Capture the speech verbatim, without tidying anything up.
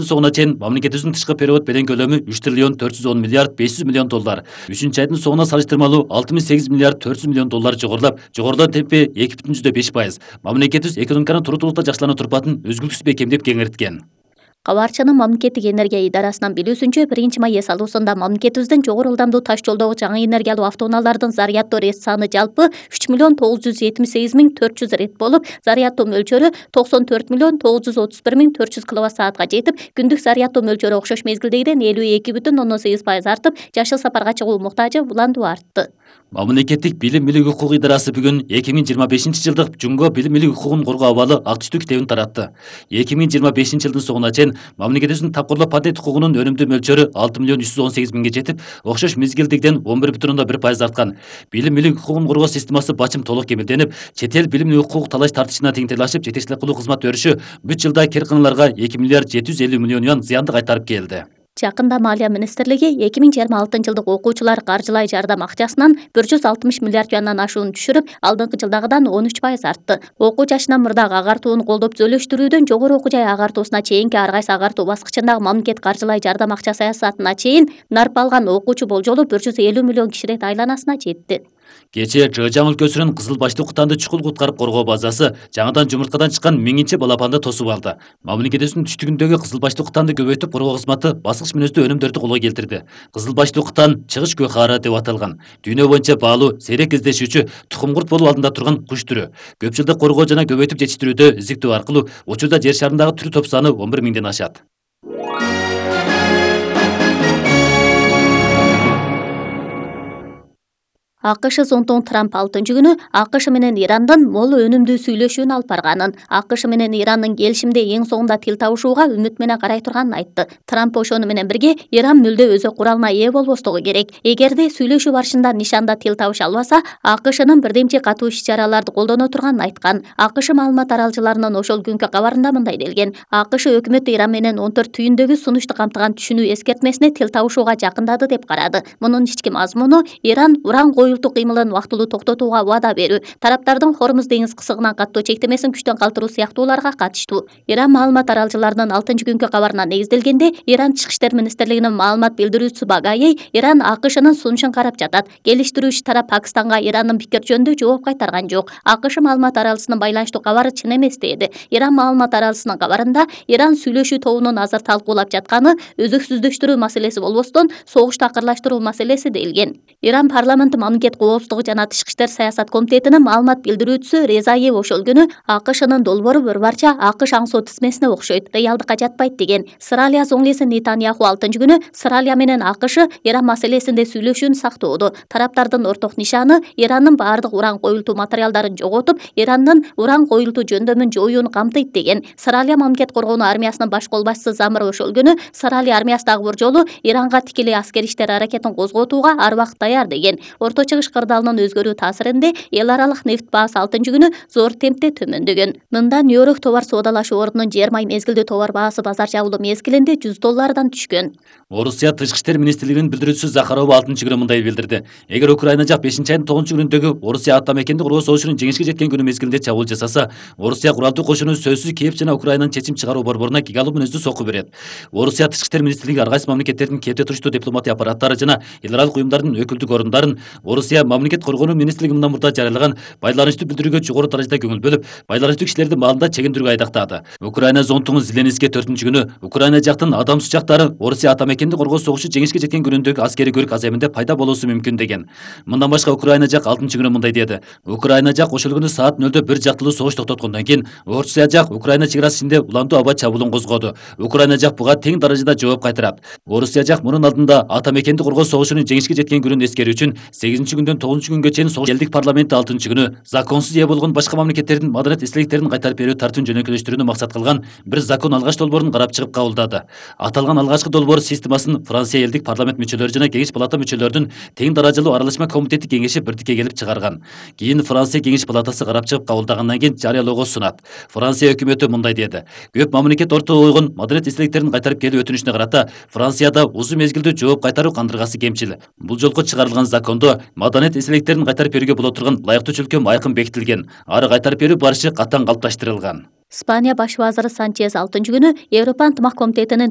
соңуна чейин мамлекетибиздин тышкы перевод белең көлөмү үч триллион төрт жүз он миллиард беш жүз миллион доллар. үчүнчү айдын соңуна салыштырмалуу алты миң сегиз миллиард төрт жүз миллион доллар жогорулап, жогорулоо темпи эки бүтүн жүздөн беш пайыз. Мамлекетибиз экономиканын туруктуулукта жакшылануу турпатын өзгүлтүксүз бекемдеп кеңейткен. Кабарчынын мамлекеттик энергия идарасынан билүүсүнчө, биринчи май эс алуусунда мамлекетибиздин жогору ылдамдуу таш жолдогу жаңы энергиялуу автоунаалардын заряддоо рет саны жалпы үч миллион тогуз жүз жетимиш сегиз миң төрт жүз рет болуп, заряддоо мөлчөрү токсон төрт миллион тогуз жүз отуз бир миң төрт жүз киловатт саатка жетип, күндүк заряддоо мөлчөрү окшош мезгилдегиден элүү эки бүтүн ондон сегиз пайыз артып, жашыл сапарга чыгуу муктажы уландуу артты. Мамлекеттик билим милик укук идарасы бүгүн эки миң жыйырма бешинчи жылдык Жунго билим милик укугун коргоо абалы ак түштүү китебин таратты. эки миң жыйырма бешинчи жылдын соңуна чейин мамлекетибиздин тапкырлоо патент укугунун өнүмдүү мөлчөрү алты миллион үч жүз он сегиз миңге жетип, окшош мезгилдегиден он бир бүтүн ондон бир пайыз арткан. Билим милик укугун коргоо системасы бачым толук кемелденип, чет эл билим милик укук талаш тартышына теңдейлашып, жетекчилик кылуу кызмат өрүшү бүт жылда керканаларга эки миллиард жети жүз элүү миллион юан зыянды кайтарып келди. Жакында Малия министрлиги эки миң жыйырма алтынчы жылдык окуучулар каржылай жардам акчасынан бир жүз алтымыш миллиард юандан ашуун түшүрүп, алдыңкы жылдагыдан он үч пайыз артты. Окуу жашынан мурдагы агартууну колдоп төлөштүрүүдөн жогору окуу жай агартуусуна чейинки ар кайсы агартуу баскычындагы мамлекет каржылай жардам акча саясатына чейин нарп алган окуучу болжолу бир жүз элүү миллион киши рет айланасына жетти. Кечээ Чыгычаң өлкөсүнүн Кызыл башты кутанды чукул куткарып коргоо базасы жаңыдан жумурткадан чыккан миңинчи балапанды тосуп алды. Мамлекетибиздин түштүгүндөгү Кызыл башты кутанды көбөйтүп коргоо кызматы баскыч мүнөздүү өнүмдөрдү колго келтирди. Кызыл башты кутан чыгыч көкара деп аталган. Дүйнө боюнча баалуу, сейрек кездешүүчү, тукум-курт болуу алдында турган куш түрү. Көп жылдык коргоо жана көбөйтүп жетиштирүүдө издиктөө аркылуу учурда жер шарындагы түрү топ саны он бир миңден ашат. АКШ зонтун Трамп алтынчы күнү АКШ менен Ирандын мол өнүмдүү сүйлөшүүнү алып барганын, АКШ менен Ирандын келишимде эң соңунда тил табышууга үмүт менен карай турганын айтты. Трамп ошону менен бирге Иран мүлдө өзөк куралына ээ болбостугу керек. Эгерде сүйлөшүү барышында нишанда тил табыша албаса, АКШнын бирдемчи катуу иш-чараларды колдоно турганын айткан. АКШ маалымат аралчыларынын ошол күнкү кабарында мындай делген: АКШ өкмөтү Иран менен он төрт түйүндөгү сунушту камтыган түшүнүү эскертмесине тил табышууга жакындады деп карады. Мунун ички мазмуну Иран уран коюлтуу кыймылын убактылуу токтотууга убада берүү, тараптардын Хормуз деңиз кысыгынан каттоо чектемесин күчтөн калтыруу сыяктууларга катыштуу. Иран маалымат аралчыларынын алтынчы күнкү кабарына негизделгенде, Иран Тышкы иштер министрлигинин маалымат билдирүүчүсү Багаей Иран АКШнын сунушун карап жатат. Келиштирүүчү тарап Пакистанга Ирандын пикир жөнүндө жооп кайтарган жок. АКШ маалымат аралчысынын байланыштуу кабары чын эмес деди. Иран маалымат аралчысынын кабарында Иран сүйлөшүү тобунун азыр талкуулап жатканы өзөксүздөштүрүү маселеси болбостон, согушту акырлаштыруу маселеси делген. Иран парламенти мамлекет коопсуздугу жана тышкы иштер саясат комитетинин маалымат билдирүүчүсү Резаев ошол күнү АКШнын долбоору бір барча АКШ аңсоо тизмесине окшойт, реалдыкка жатпайт деген. Сыралия зоңлеси Нетаньяху алтынчы күнү Сыралия менен АКШ Иран маселесинде сүйлөшүүнү сактоодо. Тараптардын орток нишаны Ирандын баардык уран коюлтуу материалдарын жоготуп, Ирандын уран коюлтуу жөндөмүн жоюуну камтыйт деген. Сыралия мамлекет коргоонуу армиясынын баш колбашчысы Замыр ошол күнү Сыралия армиясы дагы бир жолу Иранга тикелей аскери иштер аракетин козготууга ар убакыт даяр деген. Орто Чыгыш кырдаалынын өзгөрүү таасиринде эл аралык нефть баасы алтынчы күнү зор темпте төмөндөгөн. Мында Нью-Йорк товар соодалашуу ордунун жер май мезгилдүү товар баасы базар жабылуу мезгилинде жүз доллардан түшкөн. Орусия Тышкы иштер министрлигинин билдирүүчүсү Захарова алтынчы күнү мындай билдирди: эгер Украина жак бешинчи айдын тогузунчу күнүндөгү Орусия ата мекенди коргоо согушунун жеңишке жеткен күнү мезгилинде чабуул жасаса, Орусия куралдуу кошуну сөзсүз Киев жана Украинанын чечим чыгаруу борборуна гигалуу мүнөздүү сокку берет. Орусия Тышкы иштер министрлиги ар кайсы мамлекеттердин Киевде туруштуу дипломатия аппараттары жана эл аралык уюмдардын өкүлдүк орундарын Орусия мамлекет коргоонуу министрлиги мындан мурда жарыялаган байланыштуу билдирүүгө жогору даражада көңүл бөлүп, байланыштуу кишилерди маалында чегиндирүүгө айдактады. Украина зонтугун Зеленский төртүнчү күнү Украина жактын адам сучактары Орусия ата мекенди коргоо согушу жеңишке жеткен күнүндөгү аскери көрүк аземинде пайда болуусу мүмкүн деген. Мындан башка Украина жак алтынчы күнү мындай деди: Украина жак ошол күнү саат нөлдө бир жактылуу согуш токтоткондон кийин Орусия жак Украина чек арасы ичинде уландуу аба чабуулун козгоду. Украина жак буга тең даражада жооп кайтарат. Орусия жак мунун алдында ата мекенди коргоо согушунун жеңишке жеткен күнүн эскерүү үчүн сегизинчи күндөн тогузунчу күнгө чейин согуш элдик парламенти алтынчы күнү законсуз ээ болгон башка мамлекеттердин маданият эстеликтерин кайтарып берүү тартууну жөнөкөйлөштүрүүнү максат кылган бир закон алгач долбоорун карап чыгып кабылдады. Аталган алгачкы долбоор системасын Франция элдик парламент мүчөлөрү жана кеңеш палата мүчөлөрүнүн тең даражалуу аралашма комитети кеңеши бирдикке келип чыгарган. Кийин Франция кеңеш палатасы карап чыгып кабылдагандан кийин жарыялоого сунат. Франция өкмөтү мындай деди: көп мамлекет ортого койгон маданият эстеликтерин кайтарып келүү өтүнүчүнө карата Францияда узун мезгилдүү жооп кайтаруу кандыргасы кемчил. Бул жолку чыгарылган закондо маданият эстеликтерин кайтарып берүүгө боло турган ылайыктуу чөлкөм айкын бекитилген, ары кайтарып берүү барышы катаң калыпташтырылган. Испания баш вазыры Санчез алтынчы күнү Европа ынтымак комитетинин